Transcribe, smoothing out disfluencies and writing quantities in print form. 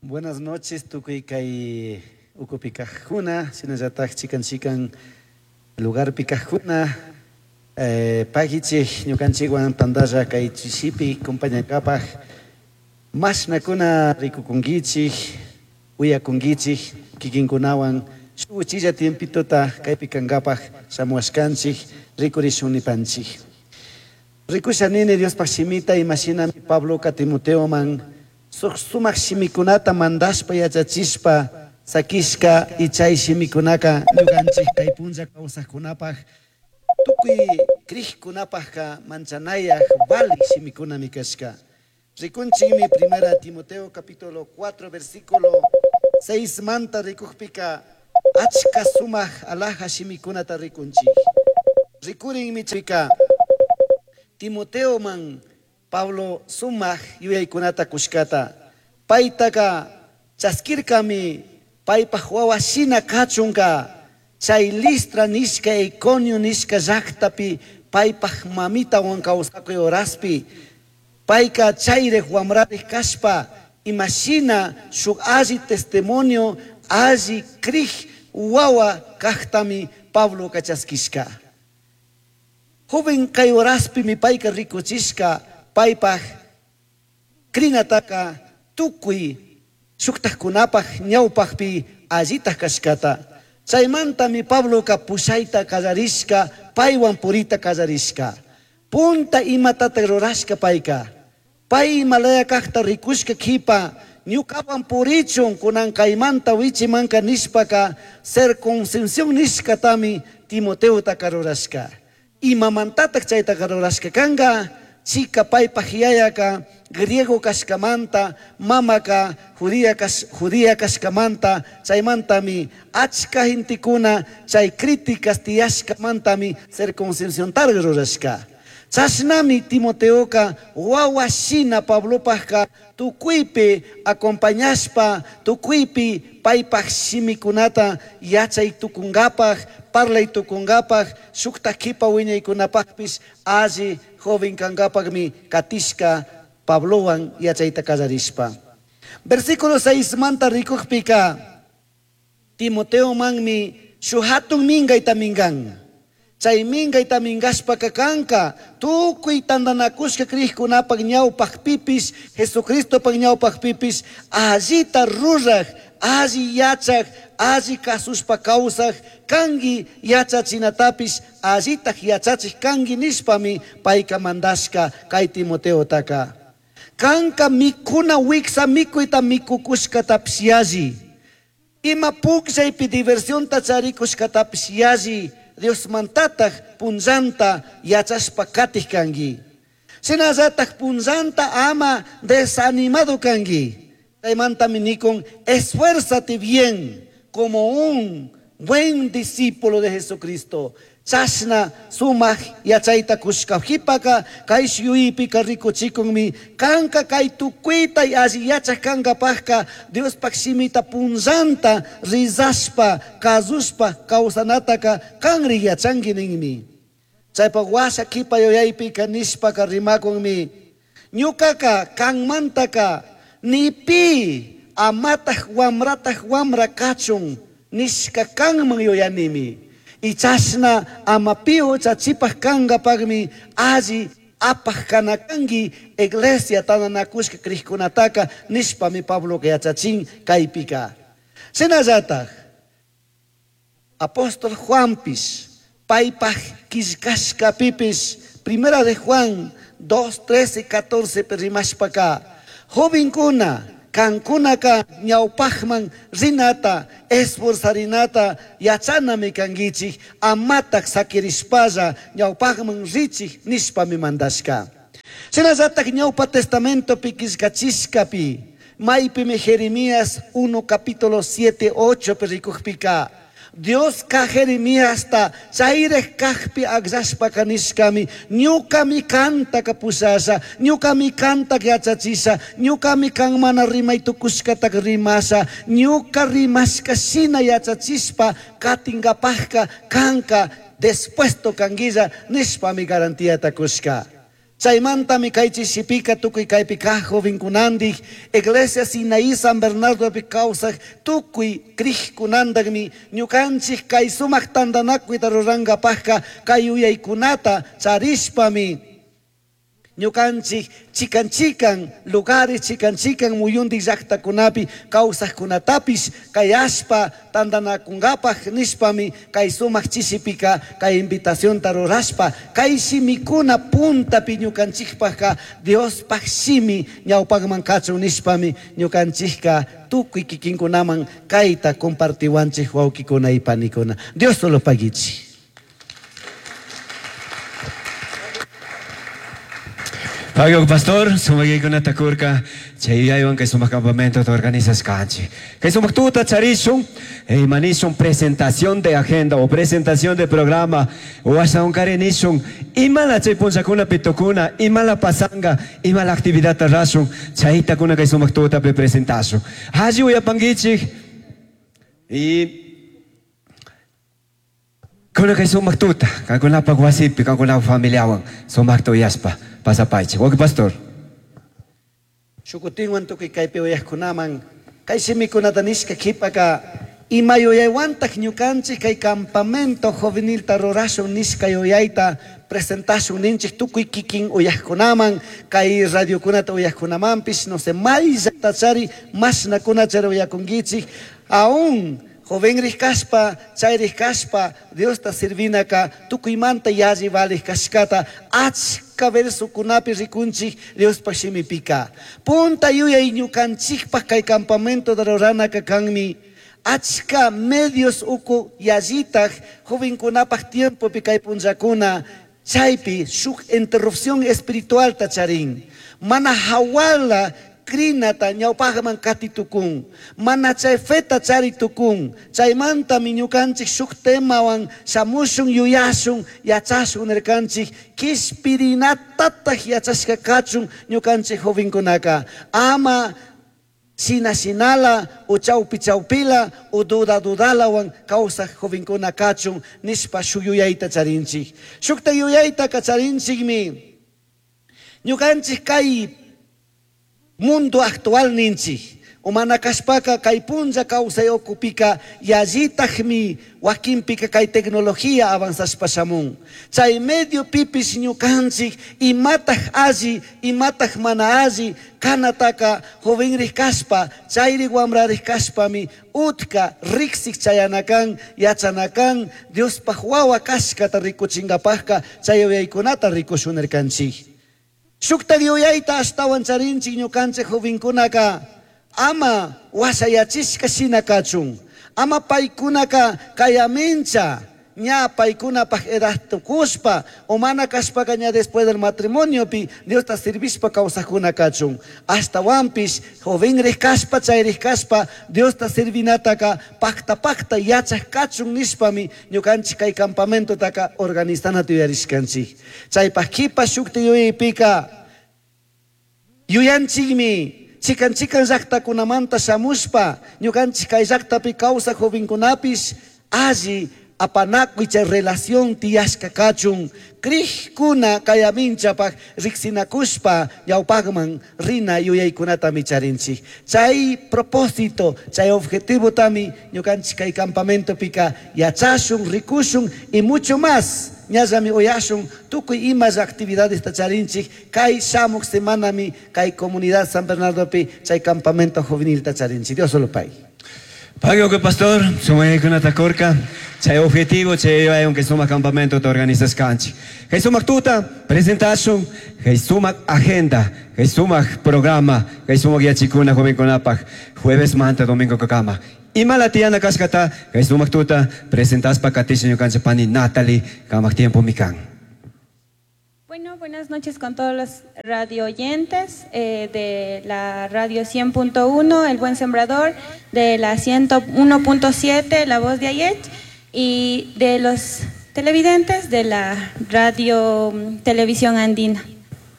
Buenas noches, tukuy kay ukupi kajkuna, shinallataj chikan chikan lugarpi kajkuna, pagichij ñukanchikwan tandalla kay chishipi compañangapaj, mashnakuna rikukunkichik, uyakunkichik, kikinkunawan shuk uchilla tiempitota kaypi kankapaj shamuwashkanchik, rikurishun nipanchik. Rikusha nini Diospaj shimita imashinami Pabloka Timoteoman suk sumak shimikunata mandashpa yachachishpa sakishka y chay shimikunaka ñukanchik kay punlla kawsakkunapaj tukuy krikkunapajka manchanayaj valik shimikunami kashka. Rikunchikmi Primera Timoteo capítulo 4 versículo 6 manta rikukpika achka sumak alaja shimikunata rikunchik. Rikurinmi chayka Timoteoman Pablo sumak yuyaykunata kushkata. Paytaka chaskirkami paypaj wawa shina kachunka chay Listra nishka Iconio nishka llaktapi paypaj mamitawan kawsakuy horaspi payka chayrik wamrarik kashpa imashina shuk alli testimonio alli krik wawa kaktami Pabloka chaskishka. Joven kay horaspimi payka rikuchishka paypaj krinataka tukuy shuktajkunapaj ñawpajpi allitaj kashkata. Chaymantami Pabloka pushayta kallarishka, paywan purita kallarishka. Punta imatata rurashka payka. Pay imalaya kajta rikushka kipa, ñukawan purichun kunan kaymanta wichimanka nishpaka circuncisión nishkatami Timoteotaka rurashka. Imamantataj chaytaka rurashka kanka, chika paypaj yayaka griego kashkamanta, mamaka judía kashkamanta, chaymantami achka gentekuna chay críticas tiyashkamantami circuncisióntaraq rurashka. Chashnami Timoteoka wawa shina Pablopajka tukuypi acompañashpa, tukuypi paypaj shimikunata yachay tukunkapaj, parlay tukunkapaj, shuktaj kipa wiñaykunapajpish alli joven kankapajmi katishka Pablowan yachayta kallarishpa. Versículo 6 manta rikukpika Timoteomanmi shuk hatun minkayta minkan. Chay minkayta minkashpaka kanka tukuy tantanakushka krikkunapak ñawpakpipish, Jesucristopak ñawpakpipish allita ruraj, alli yachaj, alli kasushpa kawsaj kanki yachachinatapish allitaj yachachik kanki nishpami payka mandashka kay Timoteotaka. Kanka mikuna wiksa mikuyta mikukushkatapish yalli. Ima pukllaypi diversionta charikushkatapish yalli Diosmantataj punllanta yachashpa katij kanki. Shinallataj punllanta ama desanimado kanki. Chaymantami nikun esfuérzate bien como un buen discípulo de Jesucristo. Chashna sumak yachayta kushka jipaka kay yuypika rikuchikunmi kanka kay tukuyta alli yachaj kankapajka Diospaj shimita punllanta rizashpa kasushpa kawsanataka kanri yachanki ninmi. Chaypak washa kipa yuyaypika nishpaka rimakunmi ñukaka kanmantaka ni pi amataj wamrataj wamra kachun nishka kanman yuyanimi. Y chashna ama pi huchachipaj kankapakmi alli apaj kana kanki iglesia tantanakushka krikkunataka nishpami Pabloka yachachin kaypika. Shinallataj apóstol Juanpish paypaj killkashkapipish Primera de Juan 2, 13, 14 pi rimashpaka jovenkuna kankunaka ñawpajman rinata esforzarinata yachanami kankichik amataj sakirishpalla ñawpajman richik nishpami mandashka. Shinallataj ñawpa testamentopi killkachishkapi maypimi Jeremías 1 capítulo 7, 8 pi rikukpika Dioska Jeremiasta chayrej kajpi akllashpaka nishkami ñukami kantaka pushasha, ñukami kantaka yachachisha, ñukami kan mana rimay tukushkatak rimasha, ñuka rimashka shina yachachishpa katinkapajka kanka dispuesto kanguilla nishpami garantiata kushka. Chaymantami kay chishipika tukuy kaypi kaq jovenkunandik, Iglesia Sinaí San Bernardopi kawsaq tukuy kriqkunandakmi ñukanchik kay sumaq tantanakuyta rurankapaqqa kay yuyaykunata charishpami ñukanchik chikan chikan lugares, chikan chikan muyundik llaqtakunapi kawsaqkunatapish kayashpa tantanakunkapaq nishpami kay sumaq chishipika kay invitacionta rurashpa kay shimikuna puntapi ñukanchikpaqqa Diospaq shimi ñawpaqman kachun nishpami ñukanchikka tukuy kikinkunaman kayta compartiwanchik wawkikuna y panikuna. Dios solo paguichi. Pagyo pastor, sumakaykunata kurka, chay yuyaywan kay sumak campamento organizashkanchik. Kay sumak tuta charishun, imanishun presentación de agenda o presentación de programa, o ashawankari nishun, imala chay punllakunapi tukuna, imala pasanga, imala actividadta rashun, chayta kuna kay sumak tutapi presentashun. Alli uyapankichik, y kuna kay sumak tuta, kankunapak wasipi, kankunapak familiawan, sumakta uyashpa pasapaychik. Wawqi pastor. Shukutinwan tukuy kaypi uyaqkunaman, kay shimikunata nishka qhipaka ima yuyaywantak ñukanchik kay campamento juvenilta rurashun nishka yuyayta presentashun ninchik tukuy kikin uyaqkunaman, kay radiokunata uyaqkunamanpish, no sé, may llaqtachari mashnakunachari uyakunkichik, aún jovenrij kashpa, chayrij kashpa, Diosta servinaka tukuymanta yalli valij kashkata achka versokunapi rikunchik Diospaq shimipika. Punta yuyay ñukanchikpaq kay campamento ruranaka kanmi achka medios uku yallitaj jovenkunapaq tiempopi kay punllakuna chaypi shuk interrupción espiritualta charin. Mana hawala krinata ñawpaqman katitukun, mana chay feta charitukun, chaymantami ñukanchik shuk temawan shamushun yuyashun yachashun nirkanchik kishpirinatataq yachashka kachun ñukanchik jovenkunaka ama shina shinala o chawpi chawpila o duda dudalawan kawsaq jovenkuna kachun nishpa shuk yuyayta charinchik. Shukta yuyaytaka charinchikmi ñukanchik kay mundo actual ninchik o mana kashpaka kay punlla kawsay ukupika yallitakmi wakinpika kay tecnología avanzashpa shamun. Chay medio pipish ñukanchik imataj alli, imataj mana alli kanataka jovenrij kashpa, chayri wamrarij kashpami utka riksik chayanakan, yachanakan, Diospaj wawa kashkata rikuchinkapajka chay yuyaykunata rikushunirkanchik. Shukta yuyayta ashtawan charinchik ñukanchik jovenkunaka ama washayachishka shina kachun, ama paykunaka kayamincha ña paykunapaj edad tukushpa o mana kashpaka ña después del matrimoniopi Diosta servishpa kawsajkuna kachun. Ashtawanpish jovenrij kashpa chayrij kashpa Diosta servinataka pakta pakta yachaj kachun nishpami ñukanchik kay campamentotaka organizanata yuyarishkanchik. Chaypaj kipa shukta yuyaypika yuyanchikmi chikan chikan llaqtakunamanta shamushpa ñukanchik kay llaqtapi kawsaq jovenkunapish alli apanakuy chay relación tiyashka kachun kriqkuna kayaminchapaq riqsinakushpa ñawpaqman rina yuyaykunatami charinchik. Chay propósito, chay objetivotami ñukanchik kay campamentopika yachashun, rikushun y mucho más. Ñallami uyashun tukuy imas actividades charinchik kay shamuq semanami kay comunidad San Bernardopi chay campamento juvenil charinchik. Dios solo pay. Pagyo que pastor, sumayaykunata kurka, chay objetivo, chay yuyaywan kay sumak campamento ta organizashkanchik. Kay sumak tuta presentashun, kay sumak agenda, kay sumak programa, kay sumak yachikuna jovenkunapaq, jueves manta domingo kakama. Imala tiyana kashkata, kay sumak tuta presentaspa katisha ñukanchik pani Natalie, kamak tiempo mikan. Bueno, buenas noches con todos los radio oyentes de la radio 100.1, El Buen Sembrador, de la 101.7, La Voz de Ayech, y de los televidentes de la radio televisión andina.